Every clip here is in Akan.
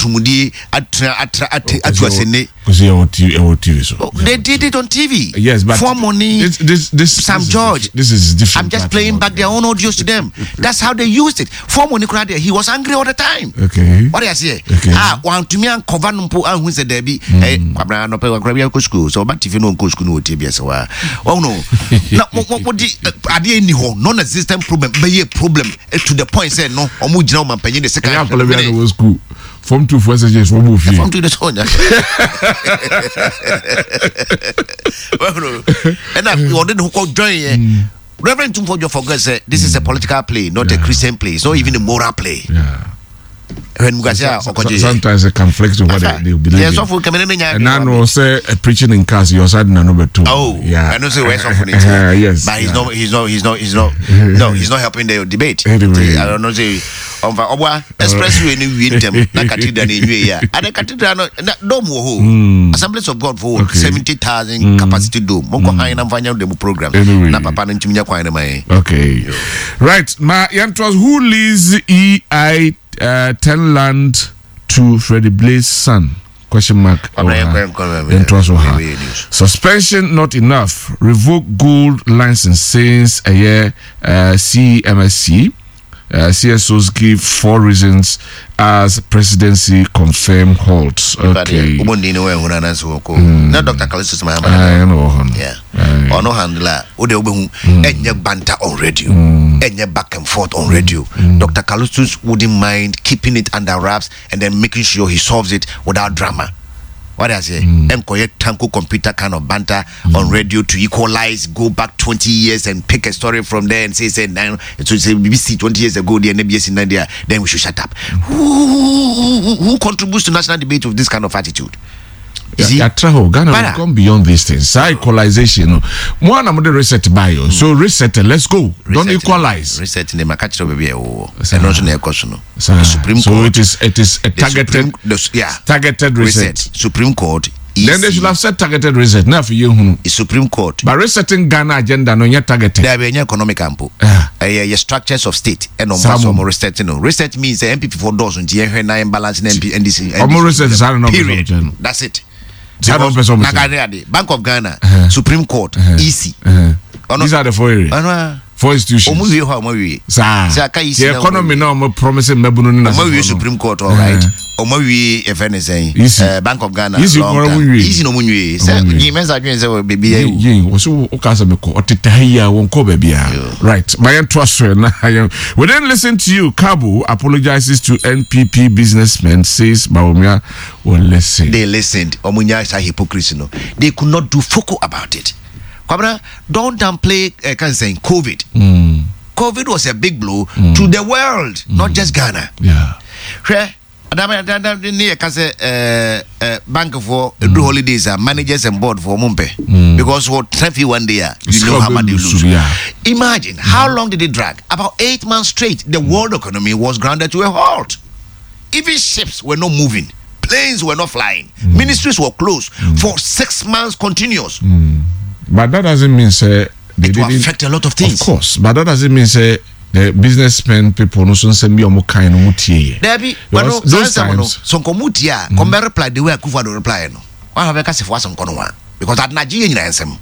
atoromudie atena atra ate atu asene. Kwesi ɛwɔ TV ɛwɔ TV so. Oh, they did it on TV. Yes, but Fomoni, this Sam this George. Is, this is different. I'm just playing back their own audios to them. That's how they used it. Fomoni kura there, he was angry all the time. Okay. What do you say? Okay. Ah, wantumi ankɔva no mpo anhu sɛ daabi. Eh, kwabra no pɛ kwabra bi akɔ school. So ɔba TV no nkɔ school no ɔtie bi ɛsɛ wa. Oh no. Na mo mo mo di adeɛ ni hɔ non-existent problem bɛyɛ problem eh, to the point sɛ no ɔmo gyina ɔmo mpanyin de sika. Ɛyɛ akɔla bi a na wɔ school. Form 2 for SHS wɔn bɔ fie. Form 2 de sɛ ɔnya. Ɛna ɔde ne ho kɔ join yɛ. Reverend Tumfo Joe forget say this is a political play, not a Christian play. It's not even a moral play. Sometimes it conflicts with what they believe. Yeah, so for And I know say preaching in cars, your side na no beto. Oh, yeah. I know say where so for yes. But he's not he's not he's not he's not no, he's not helping the debate. Anyway. I don't know say ɔmfa ɔboa expressway no wie ntɛm na cathedral no nwie yɛ a ade cathedral no na dome wɔ hɔ hmm. Assemblies of God fo 70,000 hmm. capacity dome monkɔ hmm. han na mfa nyɛ demo program na papa no ntumi nya kwan no ma yɛn. Okay, right, ma yɛntoa who leads EI 10 land to Freddie Blay's son? Question mark. Yɛntoa so ha. Suspension not enough, revoke gold license since ɛyɛ CMSC. CSOs give four reasons as presidency confirm halts. Okay. Na Dr. Callistus Mahama. Ah, no, no. Yeah. Ɔno handle a wode wobɛhu ɛnyɛ banter on radio, ɛnyɛ back and forth on radio. Dr. Callistus wouldn't mind keeping it under wraps and then making sure he solves it without drama. What I say? Ɛnkɔyɛ tanko computer kind of banter on radio to equalize, go back 20 years and pick a story from there and say, now, so say BBC 20 years ago, the NBS in India, then we should shut up. Who contributes to national debate with this kind of attitude? You see? Yàtra hɔ Ghana we gone beyond these things. Saa equalization no. Mo a na mo de reset ba yi o. So reset, let's go. Don't equalize. Reset ne ma ka kyerɛ baabi a ɛwɔ. Ɛno nso na ɛkɔ so no. The Supreme So Court. it is a The targeted Supreme, the, yeah. targeted reset. Supreme Court. EC, Then they should have said targeted reset. Now for you, the Supreme Court. But resetting Ghana agenda no yet targeted. There be economic ampo. Ah. Ɛyɛ yɛ structures of state ɛna ɔmo Saa fa so mo. ɔmo reset no. Reset means sɛ NPP for dɔɔso nti yɛhwɛ na yɛn balance na MP NDC. Ɔmo reset saa na ɔmo Period. sɛ ɔmo kyerɛ no. That's it. Saa na ɔmo pɛ sɛ ɔmo Because kyerɛ. na ade Bank of Ghana, Supreme Court, EC. Ɔno These are the four areas. ɔno a Four institutions. ɔmo wie hɔ a ɔmo wie. Saa. Sɛ aka EC The na economy na ɔmo promise mmabunu ne ɔmo wie n'asefo no. Supreme Court, all right. Ɔmo wie ɛfɛ ne sɛn. EC. Bank of Ghana. EC long kɔrɔ time. ɔmo wie. EC na ɔmo nwie. Sɛ Ɔmo nwie. Yi mɛnsa adwene sɛ beebi yɛ ewu. Yin wɔsi wo ka sɛ mekɔ ɔteta ha yi a wɔn kɔ baabi a. Right, ma yɛn to aso na yɛn. We didn't listen to you. Cabo apologizes to NPP businessmen, says Bawumia will listen. They listened. Ɔmo nya saa hypocrisy no. They could not do foco about it. Kwabena, don't downplay kan sɛn COVID. COVID was a big blow to the world, not just Ghana. Hwɛ, adama adama ne yɛ ka sɛ bankfoɔ edu holidays a managers and board foɔ ɔmo mpɛ because wɔ tena fie one day a, you know how much they lose. Imagine how long did it drag? About 8 months straight, the world economy was grounded to a halt. Even ships were not moving, planes were not flying, ministries were closed for 6 months continuous. But that doesn't mean say they It will didn't affect a lot of things. Of course, but that doesn't mean say the businessmen people no so nsɛm bi a ɔmo kan no ɔmo tie yɛ. Dabi. Because wano saa those nsɛm no times so nkɔmɔ tie a kɔmbɛ reply the way Akufo Addo reply no wɔn a bɛka sefo asɛm kɔ no wa because adenagye yɛ nyinaa nsɛm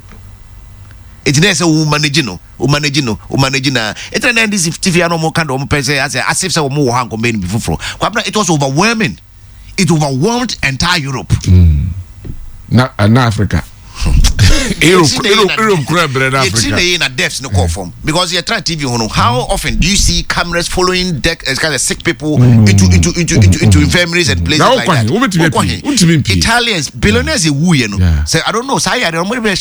eti na yɛ sɛ wo manage no, wo manage no, wo manage na eti na NDC TV ano ɔmo ka de ɔmo pɛ sɛ asɛ asif sɛ ɔmo wɔ ha nkɔmbɛ no bi foforɔ. Kwabena, it was overwhelming. It overwhelmed entire Europe. Na Africa, Europe, Europe kura brɛ na Yɛtiri Africa. Na yɛ na deaths no kɔɔ fam because yɛ try TV ho no, how often do you see cameras following deck kind of sick people into infirmaries and places Na like wokɔ that? he? Wobɛtumi Wokɔ apue? he? Wontumi mpue. Italians billionaires ewu yɛ no sɛ I don't know saa yare ɔmo de bɛ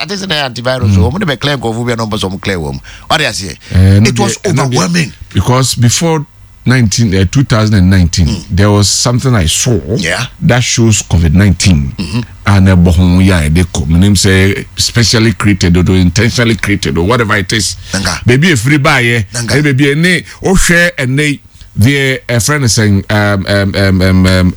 ate sɛ na antivirus ɔmo de bɛ clear nkɔfo bi a na ɔmo pɛ sɛ ɔmo clear wɔm ɔde aseɛ. No It was deɛ- ɛno deɛ- overwhelming. Because before 19 2019 there was something I saw that shows COVID-19 and ɛbɔ ho yɛ a yɛde kɔ menim sɛ specially created or intentionally created or whatever it is, Nanka. baabi efiri baayɛ Nanka. ɛne baabi ɛne wohwɛ ɛnɛ yi deɛ ɛfrɛ no sɛn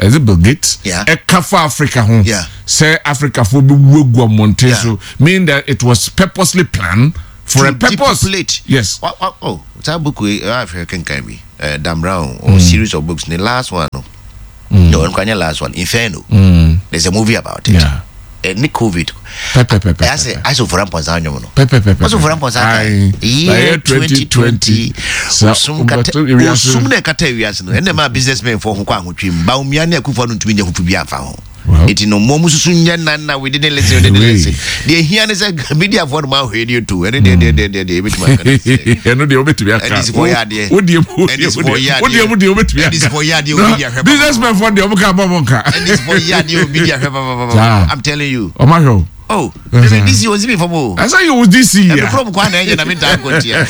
is it Bill Gates? Ɛka fa Africa ho sɛ Africafoɔ bi wu agu abɔnten so, meaning that it was purposely planned. For to a purpose. Depopulate. Yes. Wa, oh, saa book yi ahwɛ kenkan bi. Dan Brown, or series of books. The last one no. No, mm. last one. Inferno. There's a movie about it. Yeah. Ne COVID. Pɛpɛpɛpɛ. Ayɛ sɛ Ofori Amponsah nnwom no. Pɛpɛpɛpɛ. Ɔsɛ Ofori Amponsah ka. Year 2020. Osum kata osum na ɛkata ewiase no. Ɛna ɛma businessmen fo ho kɔ ahotwe mu. Bawumia ne Akufo no ntumi nyɛ ho bi amfa ho. Eti no mo susu nyɛ nan na we didn't listen, we didn't listen. Deɛ ehia ne sɛ mediafoɔ no ma ahwɛ ni etu. Ɛne deɛ deɛ deɛ deɛ deɛ ebetumi aka ne sɛ. Ɛno deɛ wobɛtumi aka. NDC foɔ yɛ adeɛ. Wodeɛ mu NDC foɔ yɛ adeɛ. wodeɛ mu deɛ wobɛtumi aka. NDC foɔ yɛ adeɛ obi di ahwɛ. Businessmen foɔ deɛ ɔmo ka bɔ ɔmo nka. NDC foɔ yɛ adeɛ obi di ahwɛ papapapa. I'm telling you. Ɔmo ahwɛ o. Oh, mm-hmm. DC was me from o. I say you was DC. Yeah. Every from kwan na na me dan ko tia.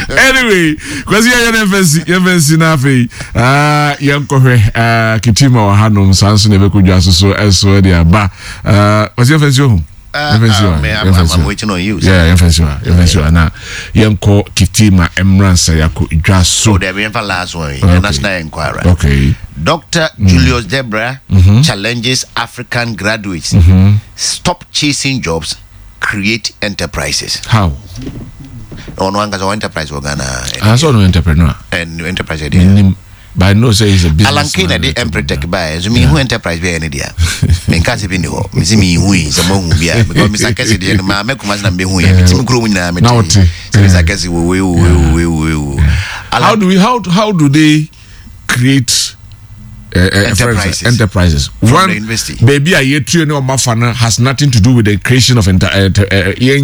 Anyway, kwasi ya na FNC, FNC na afei. Ah, yɛn kɔhwɛ ah kitima wɔ hanom sanso na ebɛkɔ dwa so so ɛso de aba. Ah, kwasi FNC ohu. FNC wa. I'm waiting on you. Yeah, FNC wa. FNC wa na yɛn kɔ kitima emransa yakɔ dwa so. Oh, there we have last one. Okay. National Enquirer. Okay. Dr. Julius Debra challenges African graduates. Stop chasing jobs, create enterprises. How? Ɔno ankasa enterprise wɔ Ghana. Ah, so no entrepreneur. And enterprise idea. But I know say he's a business. Alan Kane na de Empretec ba. So me hu enterprise bi ne dia. Me nka se bi ni hɔ. Me se me hu yi se mo hu bi a because Mr. Kese de no ma me kuma se na me hu yi. Me ti me kuro mu nyina me ti. Se Mr. Kese wo we wo we we we. How do we how how do they create enterprises? Enterprises. From One the university. Baby, a year no has nothing to do with the creation of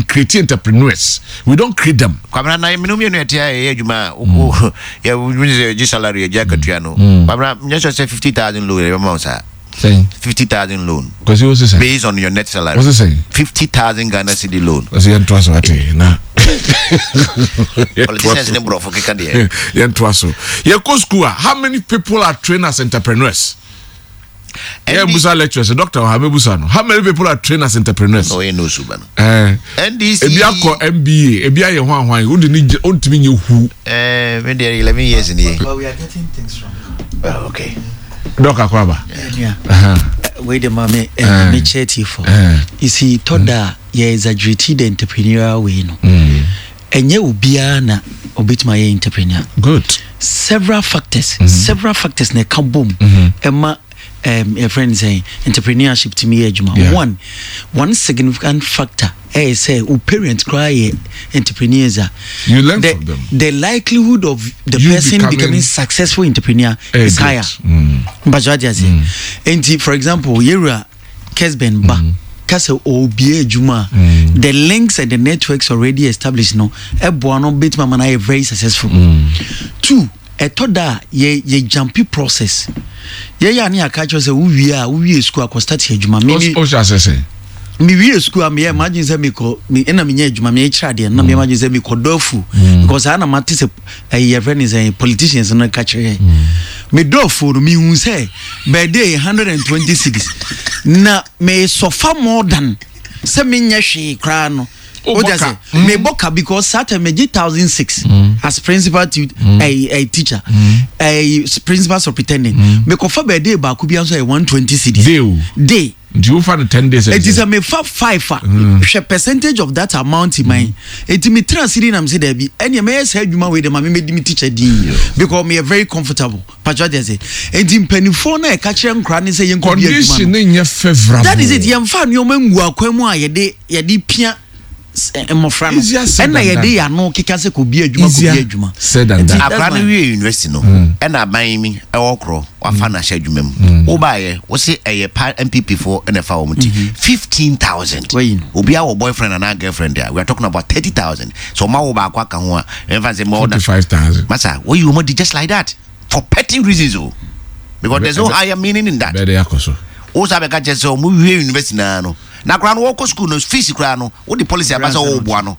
create entrepreneurs. We don't create them. Kwabena na minu mienu etia ye adwuma wo ye wo ye salary ye akatua no. Kwabena nyɛ sɛ 50,000 loan ye ma sa. 50,000 loan. Because you say based on your net salary. What's it saying? 50,000 Ghana cedi loan. Because you trust what na. Politicians ne brofo keka de. You trust so. You go school. How many people are trained as entrepreneurs? Yeah, Busa lecturers, doctor, how many people are trained as entrepreneurs? Oh, you know, Suban. NDC. Ebi akɔ MBA, ebi ayɛ hwan hwan. Who did you mean you who? Maybe 11 years in here. But we are getting things wrong. Oh, okay. Doc Akwaba. Yeah. Wait a minute, me chat you for. You see, Toda, yeah, exaggerated the entrepreneurial way, no. Enye obiara na obetuma ye entrepreneur. Good. Several factors, several factors na ka bom. Emma a friend saying entrepreneurship to me ejuma. Yeah. One significant factor say your parents cry entrepreneurs are you learn from them. The likelihood of the you person becoming successful entrepreneur is higher. But what you say? And for example, Yera Kesben ba kase obi ejuma, the links and the networks already established no eboa no bit mama na very successful. Two, etoda ye jumpy process. Ye ya ni aka kyerɛ sɛ wo wie a wo wie school akɔ start adwuma. Me me wie school am imagine say me ko me na me nya adwuma me kyerɛ ade na me imagine say me kɔ dɔfu because I na mate sɛ your friend is politicians no ka kyerɛ me dɔfu no me hu sɛ birthday 126 na me suffer more than sɛ me nya hwee kra no. Me boka because Saturday me get 1,006 as principal to a teacher, a principal superintendent. Me kofa birthday ba could be answer 120 cedis. Day. Do you find 10 days? It is a me fa 5 percentage of that amount in my. It me 3 cedi na me say there be any me say adwuma we dem me me teacher din because me very comfortable. Patriot say enti mpanifo na e ka kire nkra ne say yen ko bi adwuma. Condition ne favorable. That is it. Yem fa nneoma ngu akwan mu a yede yede pia mmofra no. Ena yede ya no keka se ko bi adwuma ko bi adwuma. Akra no wie university no. Ena aban mi e wo kro wafa na hye adwuma mu. Wo ba ye wo se eye pa MPP for ena fa wo mti 15,000. Obi a wo boyfriend and girlfriend there. We are talking about 30,000. So ma wo ba akwa ka ho a emfa se more than 45,000. Masa, wo you mo just like that for petty reasons o. Because there's no higher meaning in that. Be dey akoso. Wo sabe ka che so mu wie university na no. Na kra no wo ko school no fees kra no wo the policy abasa wo boa no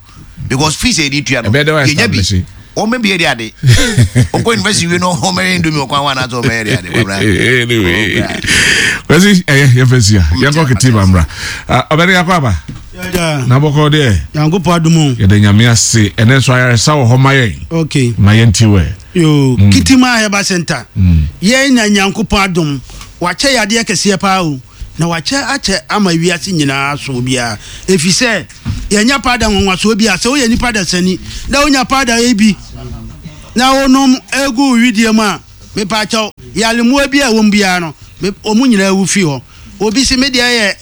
because fees e di tua no yenya bi o me bi e di ade o ko university we no o me ndomi o kwan wa na so me di ade anyway kwesi ye fesi ya ye ko kiti mamra obere yakwa ba na boko de yango adumu ye de nyame ase ene so ayaresa wo ho mayen okay mayen tiwe yo Kitima Herbal Center ye nya nyankopon adum wa che yade kese pa o na wache ache ama wiase nyinaa so bia efise Yɛnyɛ paada nwanwasoɔ bi a sɛ woyɛ nipa dasani na wonya paada yi bi na wonom egu wo wedeɛ mu a, mepaakyɛw, yare mmoa bi a ɛwɔ mu biara no, me, wɔn nyinaa wu fi hɔ. Obi se me deɛ yɛ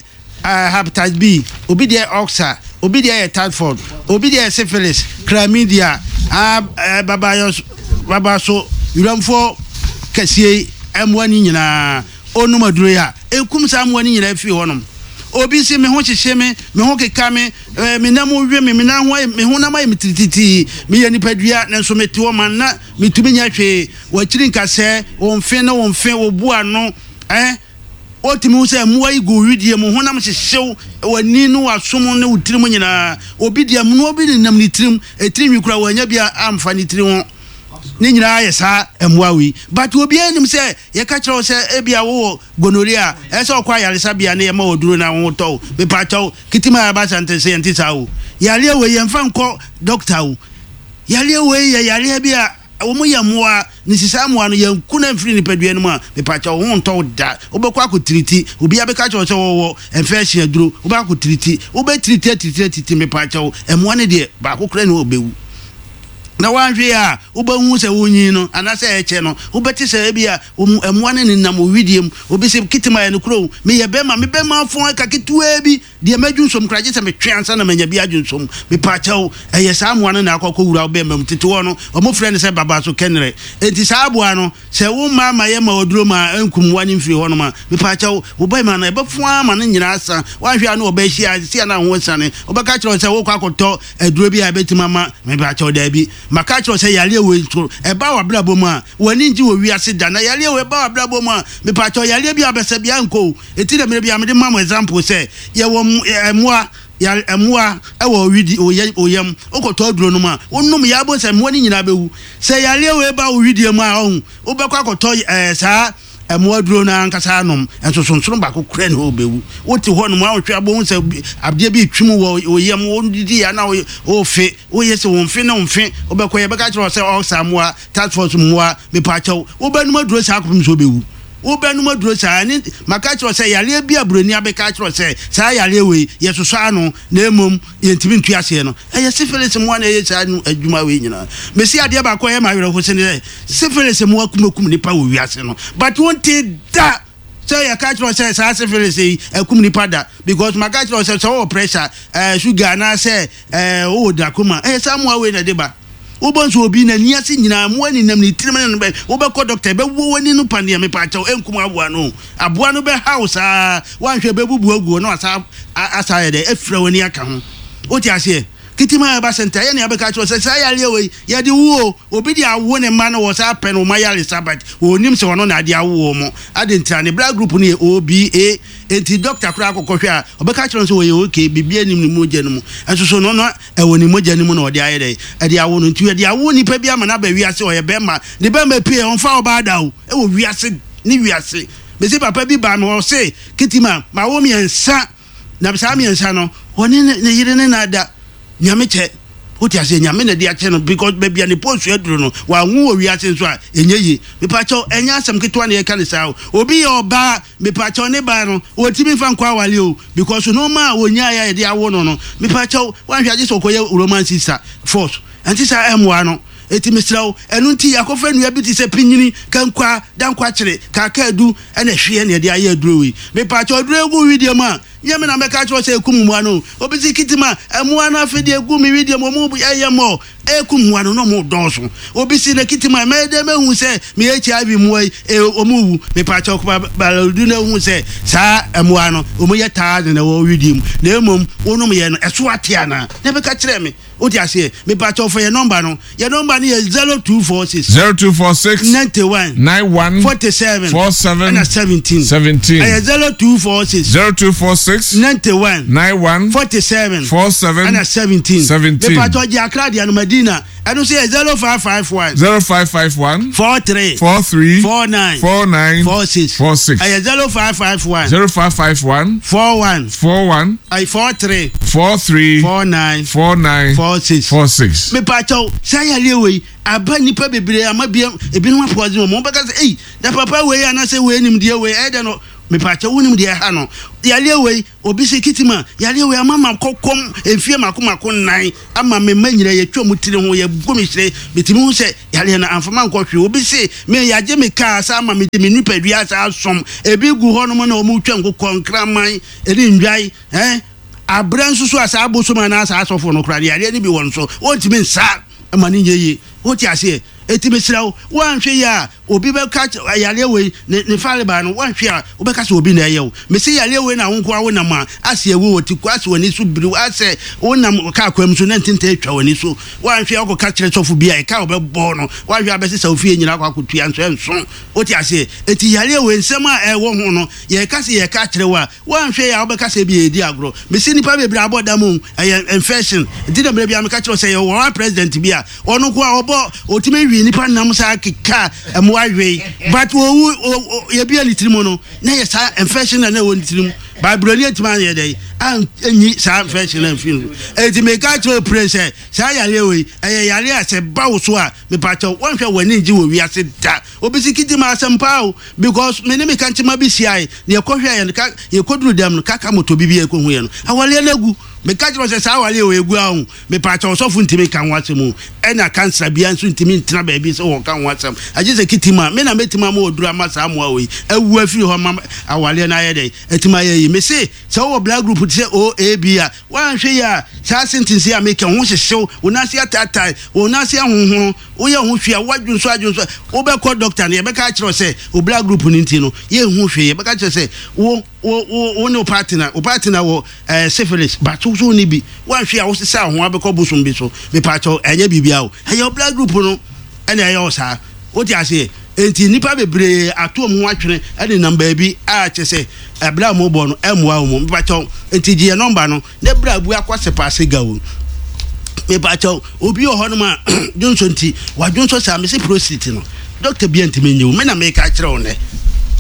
uh, hepatitis B, obi deɛ oxa, obi deɛ yɛ typhoid, obi deɛ yɛ syphilis, chlamydia, ah, eh, babayɔ, babaso, wuramfoɔ kɛseɛ yi, mmoa no nyinaa. Onom aduro yi a, ɛkum saa mmoa no nyinaa firi hɔnom. Obi se me ho hyehye me, me ho keka me, eh, me nam we me, me nan ho ayɛ, me honam ayɛ me tirititiri, meyɛ nipadua, nanso mete hɔ manna, metumi nyɛ hwee. W'akyiri nkasɛɛ, wo mfe ne wo mfe, wo bo ano, eh, wotumi hu sɛ mmoa yi gu wo wedeɛ mu, honam hyehye wo, w'ani ne w'asom ne wo tirim nyinaa. Obi deɛ, mmoa bi nenam ne tirim, etiri nwi koraa wannya bi amfa ne tiri ho. Ne nyinaa yɛ saa mmoa wei. But obiara nim sɛ yɛka kyerɛ wo sɛ ebia wowɔ gonorrhea a, ɛsɛ sɛ ɔkɔ ayaresabea na yɛma wo aduro na wo ho tɔ wo. Mepaakyɛw, Kitima Herbal Centre sɛ yɛnte saa o. Yareɛ wei yɛmfa nkɔ doctor o. Yareɛ wei yɛ yareɛ bi a wɔn yɛ mmoa, ne si saa mmoa no yɛnku no amfiri nipadua no mu a, mepaakyɛw wo ho ntɔ wo da. Wobɛkɔ akɔtiriti, obiara bɛka kyerɛ wo sɛ wɔwɔ infection aduro, wobɛkɔ akɔtiriti, wobɛtiriti atiriti atiriti, mepaakyɛw mmoa no deɛ baako koraa nni hɔ a ɔbɛwu. Na woanhwɛ yie a, wobɛhu sɛ wonyin no, anaasɛ ɛkyɛ no, wobɛte sɛ ebia mmoa no nenam wo wedeɛ mu. Obi se, Kitim ayɛ nokorɛ o, meyɛ bɛrima, me bɛrima afɔn ɛka ketewaa bi, deɛ madwonsɔ mu koraa gye sɛ metwe ansa na manya bi adwonsɔ mu. Mepaakyɛw, ɛyɛ saa mmoa no na akɔ akɔwura wo bɛrima mu. Tete hɔ no, wɔfrɛ no sɛ babaso kɛnrɛ. Enti saa aboa no, sɛ womma ama yɛmma wo aduro ma ɛnkum mmoa no mfiri hɔnom a, mepaakyɛw, wo bɛrima no, ɛbɛfɔn ara ma ne nyinaa asa. Woanhwɛ a na ɔbɛhyia, seesei a na ho asiane. Wobɛka akyerɛ wo sɛ worekɔ akɔtɔ Aduro bi a ɛbɛtumi ama Mepakyɛw, daabi. Maka akyerɛ wo sɛ yareɛ wei nso, ɛba w'abrabɔ mu a, w'ani ngye wɔ wiase da. Na yareɛ wei ba w'abrabɔ mu a, mepakyɛw, yareɛ bi a bɛsɛ biara nkɔ o. Enti na mmerɛ biara mede ma mo example sɛ, yɛwɔ mmoa, yare, mmoa wɔ widi, wo yɛ, wo yam. Wokɔtɔ aduro nom a, wonom yɛ a wobɛhu sɛ mmoa no nyinaa bɛwu. Sɛ yareɛ wei ba wo widie mu a, ɔhu, wobɛkɔ akɔtɔ ɛɛ saa Mmoa aduro no ankasa anom nsosonsono baako koraa nni hɔ a wobɛwu. Wote hɔnom a wohwɛ a wobɛhu sɛ adeɛ bi retwi mu wɔ wo yam, wodidi a na worefe, woyɛ sɛ wo mfe ne wo mfe, wobɛkɔ yɛbɛka kyerɛ wo sɛ ɔlsa mmoa, task force mmoa, mepaakyɛw, wobɛnom aduro saa kɔpem sɛ wobɛwu. Wobɛnom aduro saa, ɛne maka kyerɛ wo sɛ yareɛ bi a buroni abɛka akyerɛ wo sɛ saa yareɛ wei yɛsosɔ ano na mmom yɛntumi ntu aseɛ no, ɛyɛ syphilis mmoa na ɛyɛ saa adwuma wei nyinaa. Mesi adeɛ baako a ɛyɛ me awerɛho sɛ ne sɛ, Syphilis mmoa kumakum nipa wɔ wiase no but wonte da sɛ yɛka kyerɛ sɛ saa syphilis yi akum nipa da because maka kyerɛ sɛ sɛ wowɔ pressure eh, sugar anaasɛ eh, wowɔ glaucoma ɛyɛ saa mmoa wei na ɛde ba. Wobɔ nso obi n'ani ase nyinaa mmoa nenam ne tirim ne no bɛ wobɛkɔ doctor ɛbɛwɔ w'ani no paneɛ mepa kyɛw ɛnkum aboa no aboa no bɛhaw saa woanhwɛ bɛbubu aguo na wasa asa ayɛ dɛ afira w'ani aka ho wote aseɛ. Kitim a ɛba sɛ nti ayɛ nea bɛka akyerɛ wo sɛ saa yareɛ wei yɛde wo o, obi de awo ne mma no wɔ saa pɛ no wɔn ayaresa but ɔnnim sɛ ɔno na ade awo wɔn ade ntira ne blood group no yɛ OBA enti doctor koraa kɔkɔ hwɛ a ɔbɛka akyerɛ no sɛ ɔyɛ ok biribiara nnim ne mogya no mu ɛnso so no na ɛwɔ ne mogya no mu na ɔde ayɛ dɛn ɛde awo no nti yɛde awo nipa bi ama no aba wiase ɔyɛ bɛrima ne bɛrima pie ɔmfa ɔbaa da o ɛwɔ wiase ne wiase mese papa bi baa me hɔ ɔse Kitima mawo mmiɛnsa Na saa mmiɛnsa no, ɔne ne yere ne na da. Nyame kyɛ. Wote aseɛ? Nyame na de akyɛ no because baabi a ne pɔsu aduru no, wanwo wɔ wiase nso a, ɛnyɛ yie. Mepakyɛw, ɛnyɛ asɛm ketewa na yɛka no saa o. Obi yɛ ɔbaa, mepakyɛw, ne ba no, ɔntumi mfa nkɔ aware o because nnoɔma a ɔnyaeɛ a yɛde awo no no, mepakyɛw, wanhwɛ a gye sɛ ɔkɔyɛ Roman sister force. Ɛnte saa, ɛmmoa no. Enti mesrɛ wo, ɛno nti yɛakɔfa nnua bi te sɛ pinyini, kankwaa, dankwakyere, kaakaadu, ɛna ɛhweɛ na yɛde ayɛ aduro wei. Mepaakyɛw, aduro yi gu wo wedeɛ mu a, nyɛ me na mɛka akyerɛ wo sɛ ɛkum mmoa no o. Obi se kitima, mmoa no afe deɛ ɛgu me wedeɛ mu, wɔn ɛyɛ mmɔ, ɛkum mmoa no na wɔn dɔɔso. Obi se na kitima, mɛyɛ dɛn mahu sɛ me HIV mmoa yi, e, wɔn rewu. Mepaakyɛw, baladu na ehu sɛ saa mmoa no, wɔn yɛ thousand na ɛwɔ wo wedeɛ mu, na mmom wonom yɛ no, ɛso ate anaa? Na ɛbɛka kyerɛ me. Wote aseɛ? Mepakyɛw fa yɛn nɔmba no. Yɛn nɔmba no yɛ 0246. 0246. 91. 91. 47. 47. Ɛna 17. 17. Ɛyɛ 0246. 0246. 91. 91. 47. 47. Ɛna 17. 17. Mepakyɛw gye Accra deɛ no Madina. Ɛno nso yɛ 0551. 0551. 43. 43. 49. 49. 46. 46. Ɛyɛ 0551. 0551. 41. 41. Ayi 43. 43. 49. 49. 46. 46. Mepaakyɛw, saa yareɛ wei aba nnipa bebree ama bia ebinom apoison wɔn. Wɔbɛka sɛ, ei, na papa wei anaasɛ wei nimdeɛ wei ɛyɛ dɛ no. Mepaakyɛw wonim deɛ ɛha no? Yareɛ wei, obi se kitima, yareɛ wei ama makɔ kɔm mfie mako mako nnan, ama me mma nyina yɛtwa ɔmo tiri ho, yɛgu me hyire, metumi hu sɛ yareɛ no amfa mankɔ hwee. Obi se me yagye me kaa saa ama mede me nipadua saa asom, ebi gu hɔ nom na ɔmo twa nkokɔ, nkraman, ɛne nnwan, eh, abrɛ nso so a saa abosom anaa saa asɔfo no koraa no yareɛ no bi wɔ no so, wɔntumi nsa ma no nyɛ yie. Wote aseɛ? Enti mesrɛ wo, woanhwɛ yie a, obi bɛka kyerɛ, yareɛ wei, ne, ne farebae no, woanhwɛ a, wobɛka sɛ obi na ɛyɛ wo. Mese yareɛ wei na wo nko ara wonam a, ase awu wɔ ti ko, ase w'ani so biriw, asɛ wonam kaa kwan mu so na ntintan atwa w'ani so. Woanhwɛ a, wokɔka kyerɛ sɔfo bi a, ɛka a ɔbɛbɔ no, woanhwɛ a bɛsesa wo fie nyinaa akɔ akɔtua nso ɛnso. Wote aseɛ? Enti yareɛ wei, nsɛm a ɛwɔ ho no, yɛreka sɛ yɛreka akyerɛ wo a, Woanhwɛ yie a wobɛka sɛ ebia yɛredi agorɔ. Mese nnipa bebree abɔ dam o, ɛyɛ infection. Nti na mmerɛ biara meka kyerɛ wo sɛ yɛwɔ one president bi a ɔno nko ara ɔbɔ, ɔtumi we nnipa nam saa keka mmoa we. But ɔwu, yɛbia ne tirim no, na ɛyɛ saa infection na na ɛwɔ ne tirim. But buroni antumi anyɛ dɛn, anyi saa infection no amfiri no so. Enti meka kyerɛ wo pire sɛ saa yareɛ wei, ɛyɛ yareɛ a sɛ ɛba wo so a, mepakyɛw, woanhwɛ a w'ani ngye wɔ wiase da. Obi si kiti ma asɛm paa o because me ne me kankyema bi hyiae na yɛkɔ hwɛɛ no ka yɛkɔduru dɛm no kaka moto bi bi a yɛkɔhu yɛ no awaleɛ no agu meka kyerɛ wo sɛ saa awaleɛ wɔ ɛgu a o mepaakyɛw ɔsɔfo ntimi nka ho asɛm o ɛna kansra bia nso ntimi ntena baabi sɛ wɔka ho asɛm agye sɛ kiti ma me na mɛtumi ama ɔduru ama saa mmoa wei awu afiri hɔ ma awaleɛ no ayɛ dɛn atumi ayɛ yi mese sɛ wowɔ blood group te sɛ O A B a woanhwɛ yi a saa sentence yi a meka ho hyehyew wo nan ase ataatae wo nan ase ahonhono Woyɛ ho hwee a, woadwonsɔ adwonsɔ a, wobɛkɔ dɔkta no, yɛbɛka akyerɛ wo sɛ wo blood group no nti no, yɛnhu hwee. Yɛbɛka akyerɛ sɛ wo, wo, wo, wo ne wo partner, wo partner wɔ eh, syphilis, but wo so wonni bi. Woanhwee a, wosesa wo ho abɛkɔ bosom bi so. Mepaakyɛw, ɛnyɛ biribiara o. Ɛyɛ wo blood group no ɛna ɛyɛ wo saa. Wote aseɛ? Enti nnipa bebree ato wɔn ho atwene nenam baabi a kyerɛ sɛ ɛberɛ a wɔbɔ no ɛmmoa wɔn. Mepaakyɛw, enti gye yɛn nɔmba no. Ne bra bu akɔ sepaase ga o. Mepakyɛw, obi wɔ hɔnom a dwonsɔ nti wadwonsɔ saa mese prostate no doctor bia ntumi nyɛ o me na meka akyerɛ wo nɛ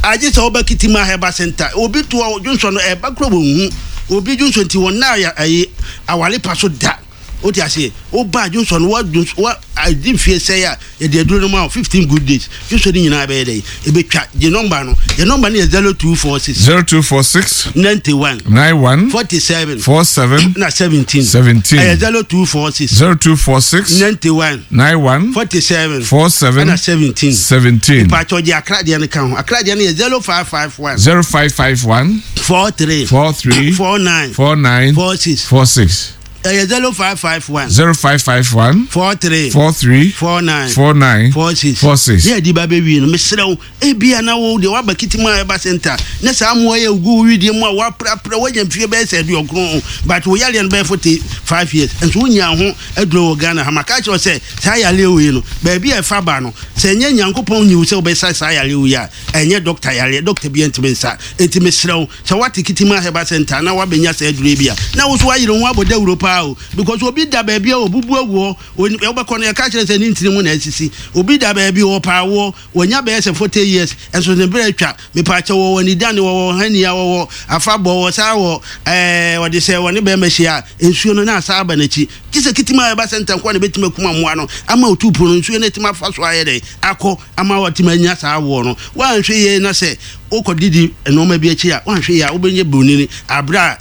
agye sɛ woba Kitima Herbal Center obi to dwonsɔ no ɛba kora wɔnhu obi dwonsɔ nti wɔn na ayi awale pa so da wote aseɛ woba dwonsɔ no wadwonsɔ wa adi mfie sɛe a Yɛde aduro no ma wo 15 good days. Dwonsɔ no nyinaa bɛyɛ dɛn? Ɛbɛtwa. Gye nɔmba no. Yɛn nɔmba no yɛ 0246. 0246. 91. 91. 47. 47. Na 17. 17. Ɛyɛ 0246. 0246. 91. 91. 47. 47. Ɛna 17. 17. Ìpàtɔ gye akra deɛ no ka ho. Akra deɛ no yɛ 0551. 0551. 43. 43. 49. 49. 46. 46. Ɛyɛ 0551. 0551. 43. 43. 49. 49. 46. 46. Ne yɛde ba bɛwie no, mesrɛ wo, ebia na wo deɛ woaba Kitima a ɛba center na saa mmoa yi agu wo wedeɛ mu a woaprapra woanya mfie bɛyɛ sɛ aduɔkron but wo yareɛ no bɛyɛ 45 years nso wonyaa ho aduro wɔ Ghana ha. Maka akyerɛ wo sɛ saa yareɛ wei no, baabi a ɛfa ba no, sɛ ɛnyɛ Nyankopɔn nyi wo sɛ wobɛsa saa yareɛ wei a, ɛnyɛ dɔkta yareɛ, dɔkta biara ntumi nsa. Enti mesrɛ wo, Sɛ woate Kitima Herbal Centre na woabɛnya saa aduro yi bi a, na wo nso woayere wo ho abɔ dawuro paa o. Because obi da baabi a ɔbubu agu hɔ, wobɛkɔ no yɛka kyerɛ no sɛ ne ntini mu na asisi. Obi da baabi ɔɔpɛ awoɔ, wanya bɛyɛ sɛ 40 years, nso ne berɛ atwa. Mepaakyɛw, wɔwɔ anidane, wɔwɔ hania, wɔwɔ afabɔ, wɔwɔ saa wɔ ɛɛ wɔde sɛ wɔne bɛrima hyia a, nsuo no na asa aba n'akyi. Gye sɛ Kitima Herbal Centre nko ara na ɛbɛtumi akum mmoa no ama otuupo no nsuo no atumi afa so ayɛ dɛn akɔ ama watumi anya saa awoɔ no. Woanhwɛ yie na sɛ wokɔdidi nnoɔma bi akyi a, woanhwɛ yie a wobɛnya bonini aberɛ a.